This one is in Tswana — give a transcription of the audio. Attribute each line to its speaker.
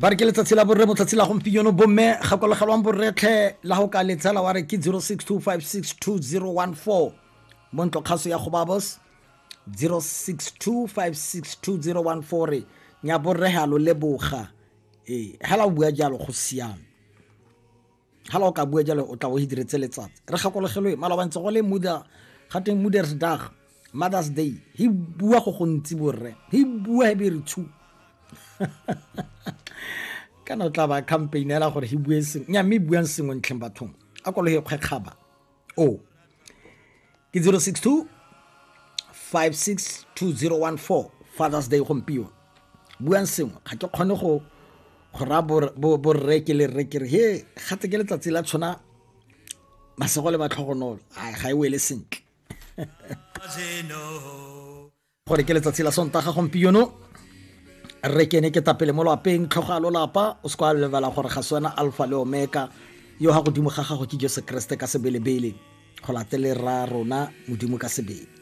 Speaker 1: Ba re ke letsatsi la borre, motsatsi la gompieno. Bomme, gakologelwang borretlhe la go ka letsela wa re ke 0625620014 mo ntlo kgaso ya Gobabos, 0625620014. Re nya borre ga lo leboga. Ee, hela o bua jalo go siame. Hala o ka bua jalo, o tla o hidiretse letsatsi. Re gakologelwe maloba ntse go le muda gateng Moedersdag, Mother's Day. He bua go gontsi borre, he bua he be re tshu kana o tla ba campaignela gore he bue sengwe nya, mme buang sengwe ntlheng bathong a kolo he kgwekgaba. O ke 062 562014, Father's Day gompieno, buang sengwe. Ga ke kgone go raya borre ke le rre ke re he gate ke letsatsi la tshwana masego le matlhogonolo, ai ga e wele sentle gore ke letsatsi la Sontaga gompieno. Re kene ke tapele mo lwapeng, tlhogo a lolapa, o se kwa lebala gore ga se wena alpha le omega, yo ga godimo ga gago ke Jesu Kriste ka sebelebele, go latele rra rona Modimo ka sebele.